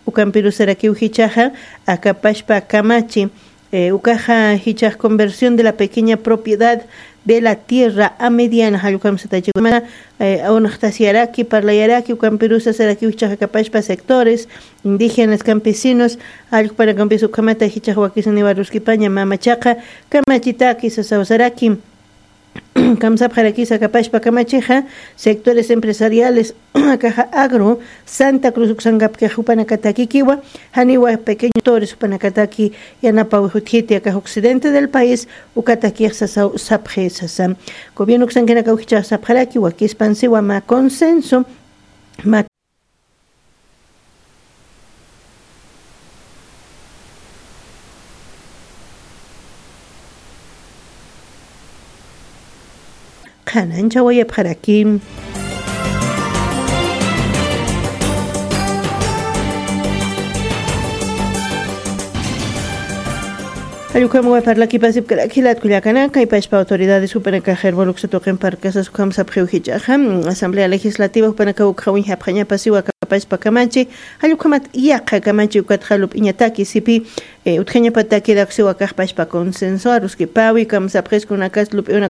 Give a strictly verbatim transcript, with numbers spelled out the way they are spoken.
Ukampirusarakiw jichhaxa akapashpa kamachi, eh, ukaxa jichhax conversión de la pequeña propiedad de la tierra a mediana, jallukam satachikumana, eh, unaxtasiyaraki, parlayaraki, ukampirusa sarakiw jichhax akapashpa sectores indígenas, campesinos, jallukpanakampis ukhamata jichhax wakisaniwa ruskipaña mamachaqa kamachitaki sasaw saraki. Kamsapxarakisa akapashpa kamachixa, sectores empresariales, akaxa agro, Santa Cruz uksankapkix jupanakatakikiwa, janiwa pequeño sectores jupanakataki yanapawix utjiti akax occidente del país, ukatakix sasaw sapxi sasa. Gobierno uksankinakaw jichhax sapxaraki, wakispansiwa mä consenso, mä qhananchawayapxaraki. Jallukamawa parlaki pasipkaraki jilat kullakanaka, kaypachpa autoridades jupanakax hermoluksa tuqin parkasas ukham sapxiw jichhaxa, asamblea legislativa jupanakaw ukxawin japxañapasiwa akapachpa kamachi, jallukhamat yaqha kamachi ukatxa lup'iñataki sipi, eh, utjañapataki daksiwa akaxpachpa consenso aruskipawi, kamsapxiskunakas lup'iwna